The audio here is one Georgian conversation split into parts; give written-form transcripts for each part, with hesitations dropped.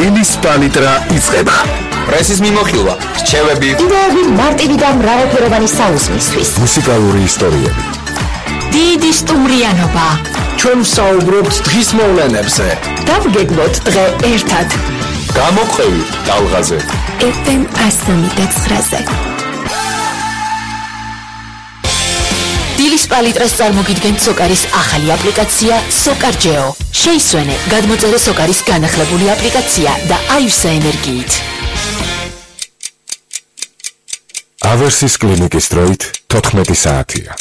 დილის პალიტრა იწყება. პრესის მიმოხილვა, რჩევები, იდეები მარტივი და მრავალფეროვანი საუზმისთვის. მუსიკალური ისტორიები. დიდი სტუმრიანობა. ჩვენ ვსაუბრობთ დღის მოვლენებზე. დავგეგმოთ დღე ერთად. გამოყევი ტალღაზე. FM 109-ზე. დილის პალიტრას წარმოგიდგენთ სოკარის ახალი აპლიკაცია SOCARGEO. შეისვენე, გადმოწერე სოკარის განახლებული აპლიკაცია და აივსა ენერგიით. ავერსის კლინიკის დროით 14 საათია.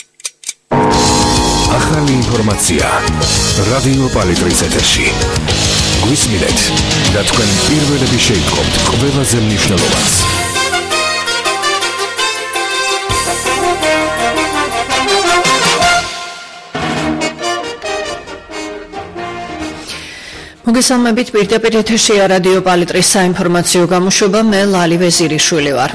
ახალი ინფორმაცია რადიო პალიტრის ეთერში. გვისმინეთ და თქვენ პირველები შეიტყობთ ყველაზე მნიშვნელოვანს. მოგესალმებით, პირდაპირ ეთერშია რადიო პალიტრის საინფორმაციო გამოშვება, მე ლალი ვეზირიშვილი ვარ.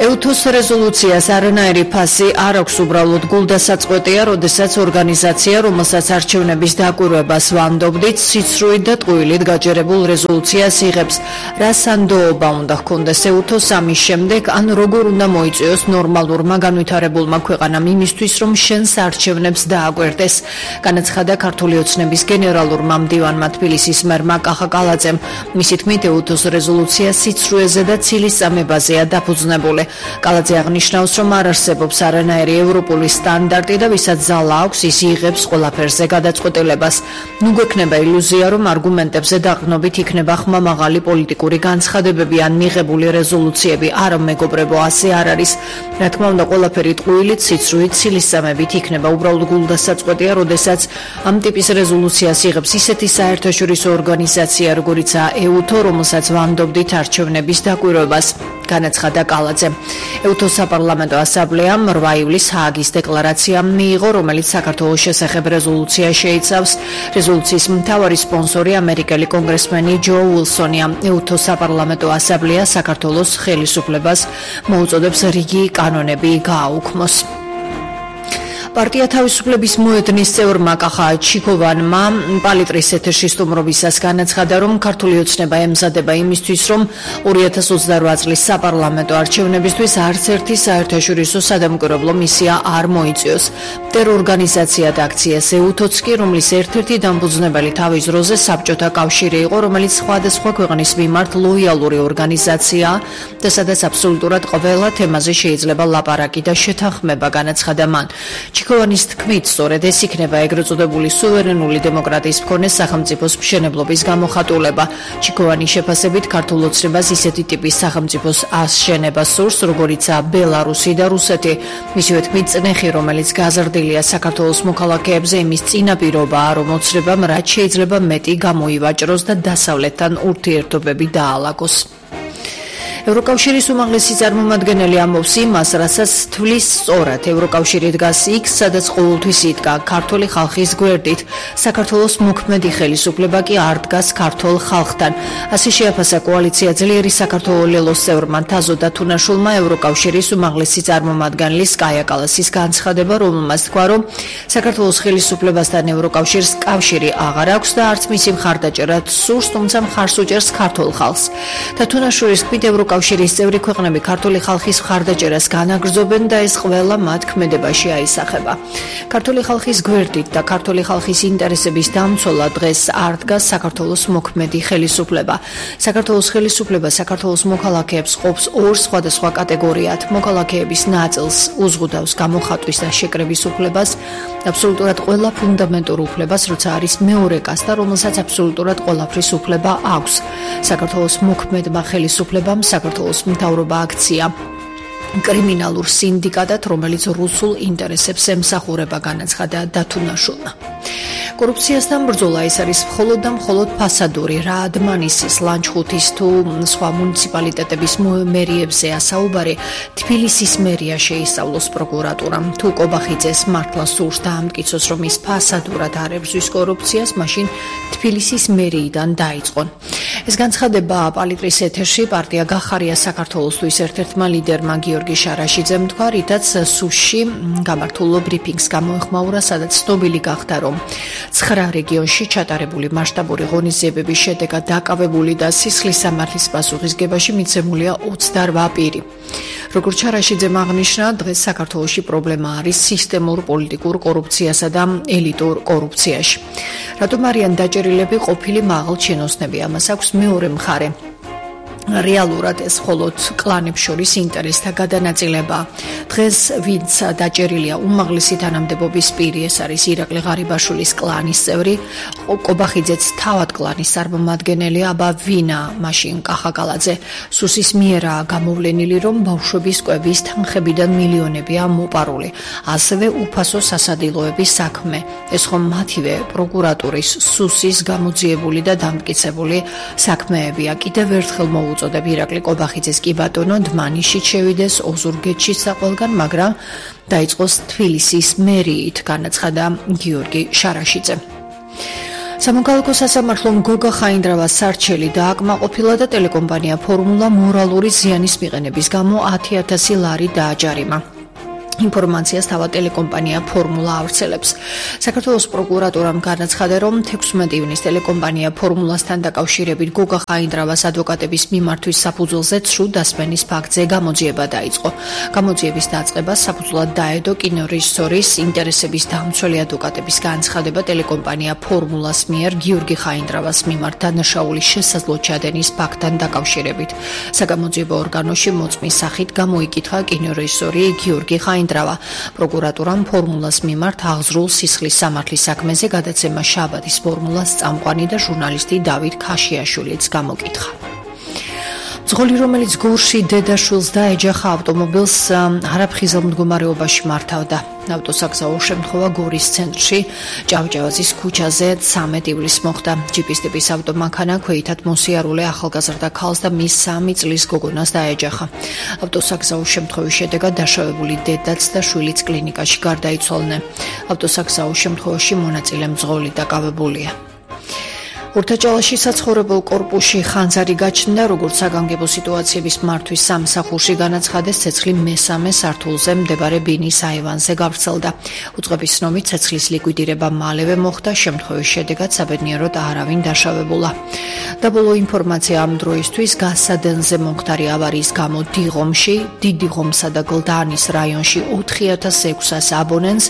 EUTOS რეზოლუციას არანაირი ფასი არ აქვს, უბრალოდ გულდასაწყვეტია, როდესაც ორგანიზაცია, რომელსაც არჩევნების დაკვირვებას ვანდობდით, სიცრუით და ტყუილით გაჯერებულ რეზოლუციას იღებს. რა სანდოობა უნდა ჰქონდეს EUTOS ამის შემდეგ, ან როგორ უნდა მოიწვიოს ნორმალურმა განვითარებულმა ქვეყანამ იმისთვის, რომ შენს არჩევნებს დააკვირდეს. განაცხადა ქართული ოცნების გენერალურმა მდივანმა თბილისის მერმა კახა კალაძემ. მისი თქმით, EUTOS რეზოლუცია სიცრუეზე და ცილის წამებაზეა დაფუძნებული. კალაძე აღნიშნავს, რომ არ არსებობს არანაირი ევროპული სტანდარტი და ვისაც ძალა აქვს, ის იღებს ყველაფერზე გადაწყვეტილებას. ნუ გვექნება ილუზია, რომ არგუმენტებზე დაყრდნობით იქნება ხმამაღალი პოლიტიკური განცხადებები ან მიღებული რეზოლუციები. არა, მეგობრებო, ასე არ არის. რა თქმა უნდა, ყველაფერი ტყუილით, სიცრუით, ცილისწამებით იქნება. უბრალოდ გულდასაწყვეტია, როდესაც ამ ტიპის რეზოლუციას იღებს ისეთი საერთაშორისო ორგანიზაცია, როგორიცაა EUTO, რომელსაც ვანდობდით არჩევნების დაკვირვებას, განაცხადა კალაძე. EUTOS საპარლამენტო ასამბლეამ 8 ივლისს ჰააგის დეკლარაცია მიიღო, რომელიც საქართველოს შესახებ რეზოლუცია შეიცავს. რეზოლუციის მთავარი სპონსორი ამერიკელი კონგრესმენი ჯო უილსონია. EUTOS საპარლამენტო ასამბლეა საქართველოს ხელისუფლებას მოუწოდებს რიგი კანონები გააუქმოს. პარტია თავისუფლების მოედნის წევრმა კახა ჩიქოვანმა პალიტრის ეთერში სტუმრობისას განაცხადა, რომ ქართული ოცნება ემზადება იმისთვის, რომ 2028 წლის საპარლამენტო არჩევნებისთვის არც ერთი საერთაშორისო სადამკვირვებლო მისია არ მოიწვიოს. ტერორგანიზაცია და აქციას EUTOS კი, რომლის ერთ-ერთი დამფუძნებელი თავის დროზე საბჭოთა კავშირი იყო, რომელიც სხვადასხვა ქვეყნის მიმართ ლოიალური ორგანიზაციაა და სადაც აბსოლუტურად ყველა თემაზე შეიძლება ლაპარაკი და შეთანხმება, განაცხადა მან. ჩიქოვანის თქმით, სწორედ ეს იქნება ეგრეთ წოდებული სუვერენული დემოკრატიის მქონე სახელმწიფოს მშენებლობის გამოხატულება. ჩიქოვანის შეფასებით, ქართულ ოცნებას ისეთი ტიპის სახელმწიფოს აშენება სურს, როგორიცაა ბელარუსი და რუსეთი. მისივე თქმით, წნეხი, რომელიც გაზრდილია საქართველოს მოქალაქეებზე, იმის წინაპირობაა, რომ ოცნებამ რაც შეიძლება მეტი გამოივაჭროს და დასავლეთთან ურთიერთობები დაალაგოს. ევროკავშირის უმაღლესი წარმომადგენელი ამბობს იმას, რასაც თვლის სწორად. ევროკავშირი დგას იქ, სადაც ყოველთვის იდგა ქართული ხალხის გვერდით. საქართველოს მოქმედი ხელისუფლება კი არ დგას ქართულ ხალხთან. ასე შეაფასა კოალიცია ძლიერი საქართველოს ლელოს წევრმა თაზო დათუნაშვილმა ევროკავშირის უმაღლესი წარმომადგენლის კაია კალასის განცხადება, რომელმაც თქვა, რომ საქართველოს ხელისუფლებასთან ევროკავშირს კავშირი აღარ აქვს და არც მისი მხარდაჭერა სურს, თუმცა მხარს უჭერს ქართულ ხალხს. დათუნაშვილის თქმით, კავშირის წევრი ქვეყნები ქართული ხალხის მხარდაჭერას განაგრძობენ და ეს ყველა მათ ქმედებაში აისახება. ქართული ხალხის გვერდით და ქართული ხალხის ინტერესების დამცველად დღეს არ დგას საქართველოს მოქმედი ხელისუფლება. საქართველოს ხელისუფლება საქართველოს მოქალაქეებს ყოფს ორ სხვადასხვა კატეგორიად. მოქალაქეების ნაწილს უზღუდავს გამოხატვის და შეკრების უფლებას, აბსოლუტურად ყველა ფუნდამენტურ უფლებას, როცა არის მეორე კასტა, რომელსაც აბსოლუტურად ყველაფრის უფლება აქვს. საქართველოს მოქმედმა ხელისუფლებამ საქართველოს მთავრობა აქცია კრიმინალურ სინდიკატად, რომელიც რუსულ ინტერესებს ემსახურება, განაცხადა დათუნაშვილმა. კორუფციასთან ბრძოლა ეს არის მხოლოდ და მხოლოდ ფასადური. რა ადმანისის, ლანჩხუთის თუ სხვა მუნიციპალიტეტების მერიებზე ასაუბარი თბილისის მერია შეისწავლოს პროკურატურამ. თუ კობახიძეს მართლა სურს დაამტკიცოს, რომ ის ფასადურად არ ებრძვის კორუფციას, მაშინ თბილისის მერიიდან დაიწყონ. ეს განცხადება პალიტრის ეთერში პარტია გახარია საქართველოსთვის ერთ-ერთმა ლიდერმა გიორგი შარაშიძემ თქვა, რითაც სუსში გამართულ ბრიფინგს გამოეხმაურა, სადაც ცნობილი გახდა, რომ 9 რეგიონში ჩატარებული მასშტაბური ღონისძიებების შედეგად დაკავებული და სისხლის სამართლის პასუხისგებაში მიცემულია 28 პირი. როგორც შარაშიძემ აღნიშნა, დღეს საქართველოში პრობლემა არის სისტემურ პოლიტიკურ კორუფციასა და ელიტურ კორუფციაში. რატომ არიან დაჭერილები ყოფილი მაღალ ჩინოსნები? ამას აქვს მეორე მხარე. რეალურად ეს მხოლოდ კლანებს შორის ინტერესთა გადანაწილება. დღეს ვინც დაჭერილია უმაღლესი თანამდებობის პირი, ეს არის ირაკლი ღარიბაშვილის კლანის წევრი, კობახიძეც თავად კლანის წარმომადგენელი, აბა ვინა მაშინ კახაკალაძე. სუსის მიერაა გამოვლენილი, რომ ბავშვების კვების თანხებიდან მილიონებია მოპარული. ასევე უფასო სასადილოების საქმე. ეს ხომ მათივე პროკურატურის სუსის გამოძიებული და დამტკიცებული საქმეებია. კიდევ ერთხელ უწოდებ ირაკლი კობახიძეს კი ბატონო დმანიშით შევიდეს ოზურგეთში საყველგან, მაგრამ დაიწყოს თბილისის მერიით, განაცხადა გიორგი შარაშიძე. სამოქალაქო სასამართლომ გოგა ხაინდრავას სარჩელი დააკმაყოფილა და ტელეკომპანია ფორმულა მორალური ზიანის მიყენების გამო 10,000 ლარი დააჯარიმა. ინფორმაციას თავად ტელეკომპანია ფორმულა ავრცელებს. საქართველოს პროკურატურამ განაცხადა, რომ 16 ივნის ტელეკომპანია ფორმულასთან დაკავშირებით გოგა ხაინდრავას ადვოკატების მიმართვის საფუძველზე ცრუ დასმენის ფაქტზე გამოძიება დაიწყო. გამოძიების დაწყებას საფუძვლად დაედო კინორეჟისორის ინტერესების დამცველი ადვოკატების განცხადება ტელეკომპანია ფორმულას მიერ გიორგი ხაინდრავას მიმართ დანაშაულის შესაძლო ჩადენის ფაქტთან დაკავშირებით. საგამოძიებო ორგანოში მოწმის სახით გამოიკითხა კინორეჟისორი გიორგი ხაინდრავა. პროკურატურამ ფორმულას მიმართ აღზრულ სისხლის სამართლის საქმეზე გადაცემა შაბათის ფორმულას წამყვანი და ჟურნალისტი დავით ქაშიაშვილიც გამოკითხა. მძღოლი, რომელიც გორში დედაშვილს დაეჯახა, ავტომობილს არაფხიზელ მდგომარეობაში მართავდა. ავტოსაგზაო შემთხვევა გორის ცენტრში, ჭავჭავაძის ქუჩაზე 13 ივლისს მოხდა. ჯიპის ტიპის ავტომანქანა ქვეითად მოსიარულე ახალგაზრდა ქალს და მის 3 წლის გოგონას დაეჯახა. ავტოსაგზაო შემთხვევის შედეგად დაშავებული დედაც და შვილიც კლინიკაში გარდაიცვალნენ. ავტოსაგზაო შემთხვევაში მონაწილე მძღოლი დაკავებულია. ურთაჭალაში საცხოვრებელ კორპუსში ხანძარი გაჩნდა, როგორც საგანგებო სიტუაციების მართვის სამსახურში განაცხადეს, ცეცხლი მესამე სართულზე მდებარე ბინის აივანზე გავრცელდა. უწყების ცნობით ცეცხლის ლიკვიდირება მალევე მოხდა, შემთხვევის შედეგად საბედნიეროდ არავინ დაშავებულა. დაბოლო ინფორმაცია ამ დროისთვის გასადენზე მომხდარი ავარიის გამო დიღომში, დიდი ღომსა და გლდანის რაიონში 4,600 აბონენტს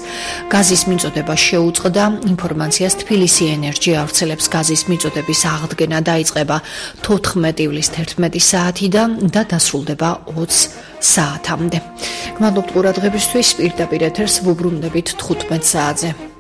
გაზის მიწოდება შეუწყდა. ინფორმაციას თბილისი ენერჯი ავრცელებს. გაზის მიწოდების აღდგენა დაიწყება 14 ივლისს 11 საათიდან და დასრულდება 20 საათამდე. გმადლობთ ყურადღებისთვის, პირდაპირ ეთერს ვუბრუნდებით 15 საათზე.